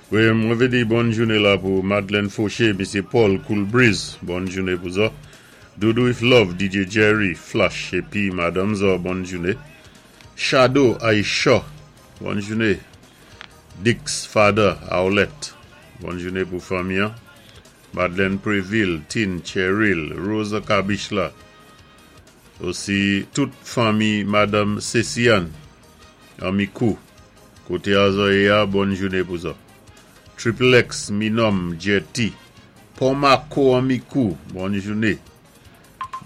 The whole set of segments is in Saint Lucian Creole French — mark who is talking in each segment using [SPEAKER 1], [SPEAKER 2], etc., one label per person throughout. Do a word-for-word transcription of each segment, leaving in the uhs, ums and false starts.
[SPEAKER 1] Wi, mwen vlé di bòn jouné la pou Madeleine Fauché, Misyé Paul Cool Breeze, bòn jouné pou zò. Doudou with Love, D J Jerry, Flash, épi Madanm zò, bòn jouné. Shadow Aisha, bòn jouné. Dix Father, Aolet, bòn jouné pou fanmi an. Madeleine Préville, Tin Cheryl, Rosa Kabishla, osi tout fanmi Madanm Céciane, Amikou, koté zò yé a, bòn jouné pou zò. Triple X, Minom, Jetty, Pomako Amikou, bòn jouné.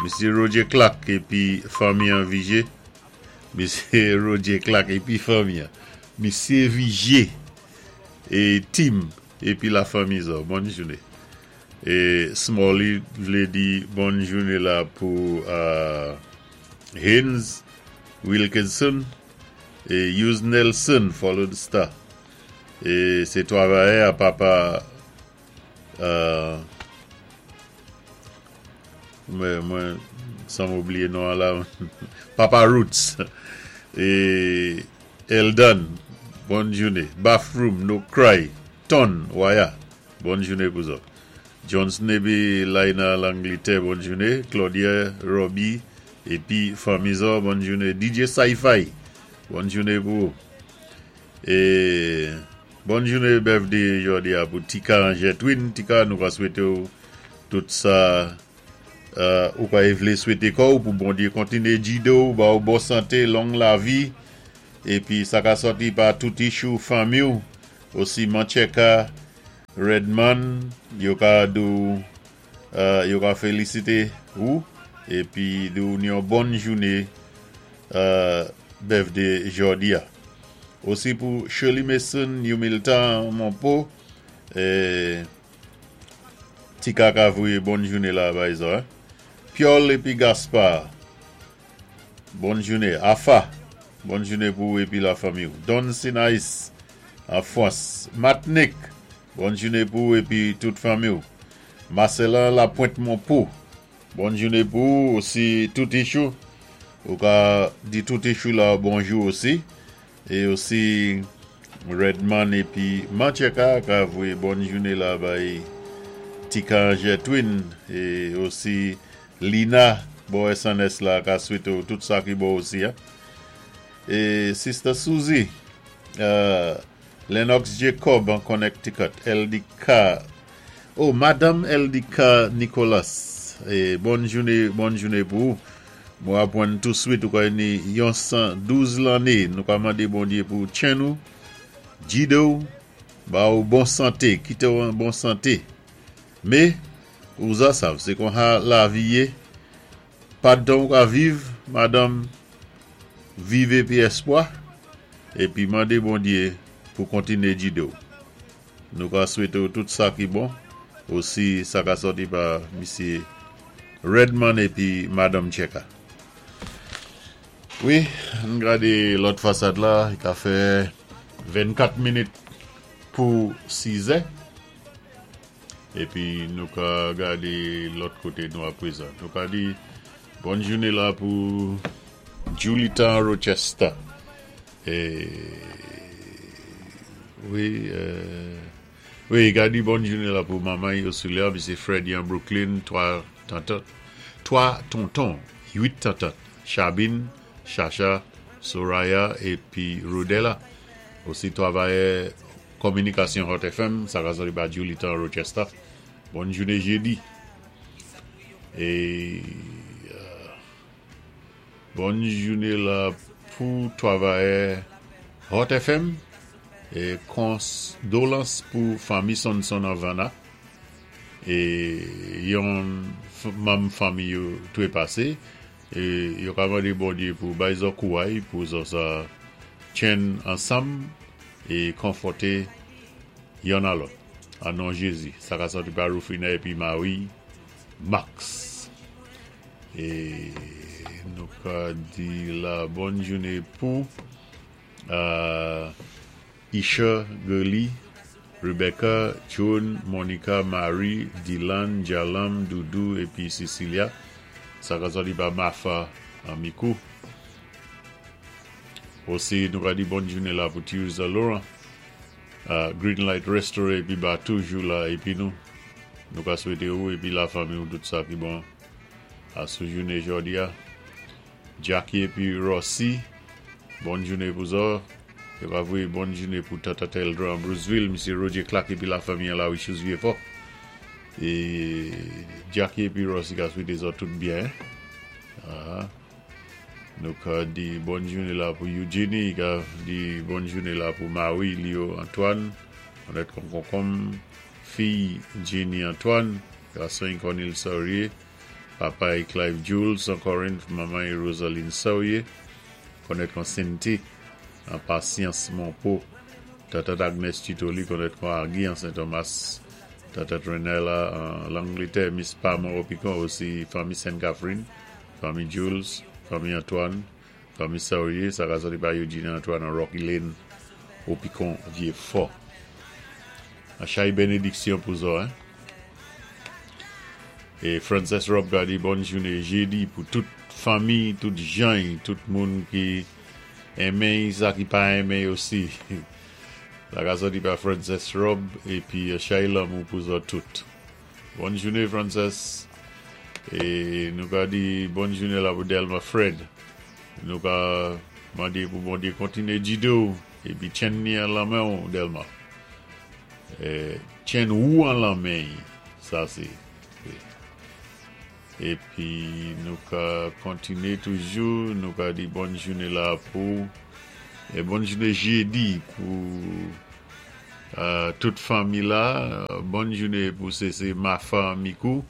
[SPEAKER 1] Misyé Roger Clark épi fanmi an Vigé. Misyé Roger Clark épi fanmi an. Misyé Vigé é Tim épi la fanmi zò, bòn jouné. É Smalley vlé di bòn jouné la pou euh, Haynes Wilkinson é Hughes Nelson, Follow the Star. É sé twavayè a papa euh, mwen, mwen, san m oubliyé non la, Papa Roots é Eldon, bòn jouné. Bathroom, No Cry, Ton, Waya, bòn jouné pou zò. Johnson épi Laina Langletè, bòn jouné. Claudia, Robbie, épi fanmi zò, bòn jouné. D J Sci-Fi, bòn jouné pou ou. É bòn jouné birthday jòdi a pou Tika Angers Twin. Tika, nou va swété ou tout sa euh, ou ka vlé swété kò pou Bondyé kontiné jidé ou, ba ou bon santé, long lavi épi sa ka sòti pa tout ichou fanmi ou. Osi Mancheka Redman, yo ka di ou euh, yo ka félisité ou épi di ou yon bòn jouné euh, birthday jòdi a. Osi pou Shirley Mason, Yumiltan Monpo, é Tika ka voyé bòn jouné la bay zò, hein. Piol épi Gaspard, bòn jouné. Afa, bòn jouné pou épi la fanmi. Don Sinaïs, an Frans. Matnik, bòn jouné pou épi tout fanmi. Marcelin Lapointe Monpo, bòn jouné pou osi tout ichou. Ou ka di tout ichou la bonjou osi. É osi Redman épi Mancheka ka voyé bòn jouné la bay Tika Angers Twin é osi Lina bò S N S la ka swété tout sa ki bon osi, hein. É Sister Suzy, euh, Lennox Jacob an Connecticut, L D K, oh, Madanm L D K Nicolas, é bòn jouné, bòn jouné pou ou. Mwen apwann touswit ou ka ni yon san douz lanné, nou ka mandé Bondyé pou tjenn ou, jidé ou, ba ou bon santé, kité ou an bon santé. Mé, ou za sav, sé kon ha lavi yé, pa tan ou ka viv, madanm, viv épi espwa, épi mandé Bondyé pou kontiné jidé ou. Nou ka swété ou tout sa ki bon, osi sa ka sòti pa Misyé Redman épi Madanm Cheka. Wi, an gadé lòt fasad la, i ka fè vennkat minit pou sis è. Épi nou ka gadé lòt koté nou aprezan. Nou ka di bòn jouné la pou Julita Rochester. É wi, euh, wi, ka di bòn jouné la pou manman Ursula, Misyé Freddy an Brooklyn, twa tantan, twa tonton, uit tantan, Chabine, Chacha, Soraya épi Rodella. Osi twavayè kominikasyon Hot F M, sa ka sòti pa Julita Rochester. Bòn jouné jédi. É euh, bòn jouné la pou twavayè Hot F M é kondolans pou fanmi Sonson Havana. É yon manm fanmi yo twépasé é yo ka mandé Bondyé pou bay zò kouway pou zò sa tjenn ansanm é konfòté yonn a lòt. An non Jézi. Sa ka sòti pa Rufina épi Marie Max. É nou ka di la bòn jouné pou euh, Isha Gurley, Rebecca, Joan, Monica, Marie, Dylan, Jalam, Doudou épi Cecilia. Sa ka sòti pa Mafa Amikou. Osi nou ka di bòn jouné la pou Tirza Laurent. Green Light Restaurant épi ba toujou la épi nou. Nou ka swété ou épi la fanmi ou tout sa ki bon asou jouné jòdi a. Jackie épi Rossi, bòn jouné pou zòt. Yo ka voyé bòn jouné pou Tata Teldra an Bruceville, Misye Roger Clark épi la fanmi an la Wichous Vieux-Fort. É Jackie épi Rossi ka swété zòt tout byen. Ah. Nou ka di bòn jouné la pou Eugenie, ka di bòn jouné la pou Marie Leo Antoine, Onette Konkonkom, fi Jenny Antoine, gason Cornel Saurier, papa Clive Jules an Corinth, manman Rosaline Saurier, konnèt kon Cynthia, an Patience Monpo, Tata Agnes Titoli, konnèt kon Agui an Saint-Thomas, Tata Trenella an Langletè, Miss Pam Opicon osi, fanmi Sainte-Catherine, fanmi Jules, fanmi Antoine, fanmi Saurier, sa ka sòti pa Eugene Antoine an Rocky Lane, Opicon Vieux-Fort. An chay bénédiksyon pou zòt, hein? É Frances Rob ka di bòn jouné jédi pou tout fanmi, tout jan, tout moun ki enmen, sa ki pa enmen osi. Sa ka sòti pa Frances Rob épi chay lanmou pou zòt tout. Bòn jouné Frances. É nou ka di bòn jouné la pou Delma Fred. Nou ka mandé pou Bondyé kontiné gidé ou épi tjenn ni an lanmen ou Delma. É, tjenn ou an lanmen, sa sé. Épi nou ka kontiné toujou, nou ka di bòn jouné la pou é bòn jouné jédi pou euh, tout fanmi la, bòn jouné pou sé Mafa Mikou,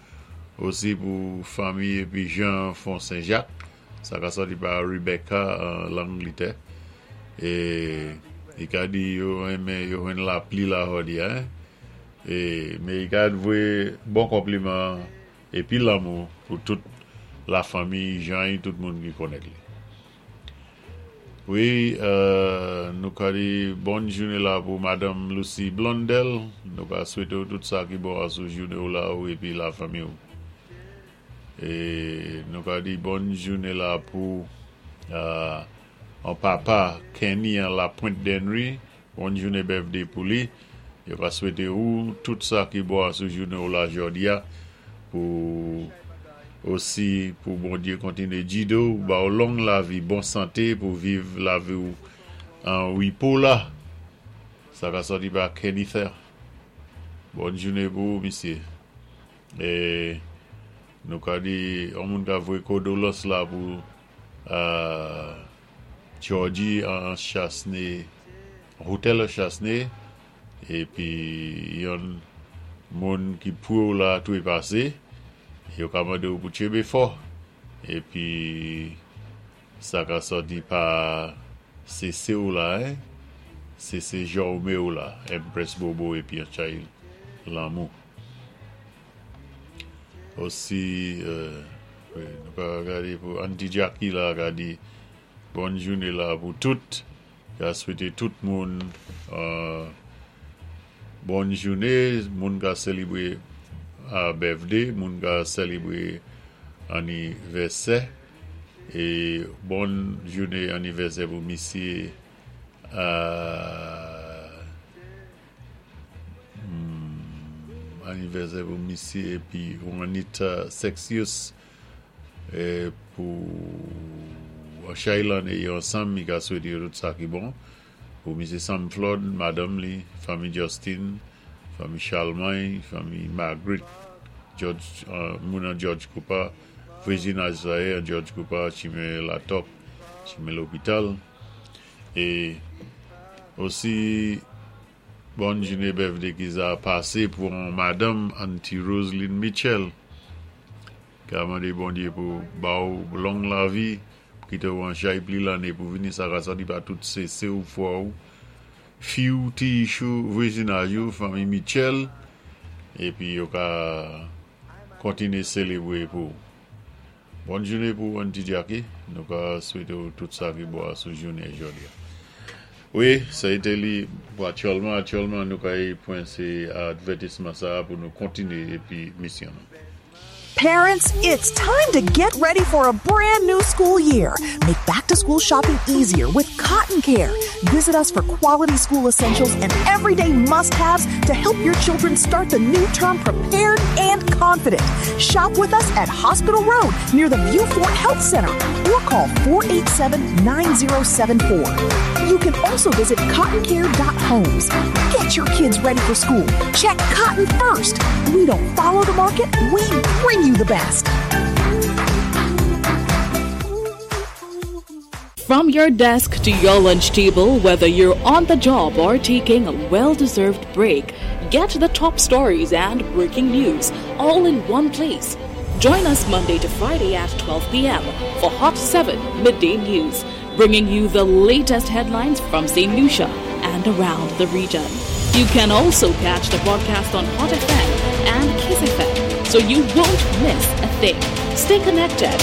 [SPEAKER 1] osi pou fanmi épi Jean Font Saint-Jacques, sa ka sòti pa Rebecca an Langletè. É i ka di yo enmen yo jwenn lapli la jòdi a, hein? É men i ka voyé bon konpliman épi lanmou pou tout la fanmi Jean é tout moun ki konnèt li. Wi, euh, nou ka di bòn jouné la pou Madanm Lucie Blondel. Nou ka swété ou tout sa ki bon asou jouné ou la ou épi la fanmi ou. É nou ka di bòn jouné la pou euh, an papa Kenny an la Pointe d'Henry. Bòn jouné birthday pou li. Yo ka swété ou tout sa ki bon asou jouné ou la jòdi a pou osi pou Bondyé kontiné gidé ou, ba ou long lavi, bon santé pou viv lavi ou an wipo la. Sa ka sòti pa Kenny Ther. Bòn jouné pou ou, misyé. É nou ka di, on moun ka voyé kondóléyans la pou euh, Georgie an Chasnay, Hotel Chasnay, épi yon moun ki pou la tou é pasé, yo ka mandé ou pou tjenbé fò. Épi sa ka sòti pa C C ou la, hein? C C Jaume ou la, Empress Bobo épi an chay lanmou. Osi, euh, wi, nou ka gadé pou Auntie Jackie la, ka di bòn jouné la pou tout. Ka swété tout moun euh, bòn jouné, moun ka sélébwé euh, birthday, moun ka sélébwé anivèsè é bòn jouné anivèsè pou misyé euh, hmm, anivèsè pou misyé épi Juanita Sexius é pou chay lanné yo ansanm, i ka swété yo tout sa ki bon. Pou misyé Sam Flood, madanm li, fanmi Justin, fanmi Charlemagne, fanmi Margaret, George, euh, moun an George Cooper, vwazinaj sa yé, George Cooper, chimen Latop, chimen lopital. É osi, bòn jouné birthday ki za pasé pou Madanm Auntie Roseline Mitchell. Ka mandé Bondyé pou ba ou long lavi, kité ou an chay pli lanné pou vini sa ka sòti pa tout sé ou fwa ou, fi ou, ti chou, vwazinaj ou, fanmi Mitchell, épi yo ka kontiné sélébwé pou. Bòn jouné pou Auntie Jackie, nou ka swété ou tout sa ki bon sou jouné jòdi a. Wi, sa été li pou aktyèlman, aktyèlman nou ka y pwen sé advètisman sa pou nou kontiné épi misyon nou.
[SPEAKER 2] Parents, it's time to get ready for a brand new school year. Make back to school shopping easier with Cotton Care. Visit us for quality school essentials and everyday must haves to help your children start the new term prepared and confident. Shop with us at Hospital Road near the Vieux Fort Health Center or call four eight seven, nine zero seven four. You can also visit cottoncare dot homes. Get your kids ready for school. Check Cotton first. We don't follow the market, we bring you the best.
[SPEAKER 3] From your desk to your lunch table, whether you're on the job or taking a well deserved break, get the top stories and breaking news all in one place. Join us Monday to Friday at twelve p m for Hot seven Midday News, bringing you the latest headlines from Saint Lucia and around the region. You can also catch the broadcast on Hot F M and Kiss F M, so you won't miss a thing. Stay connected.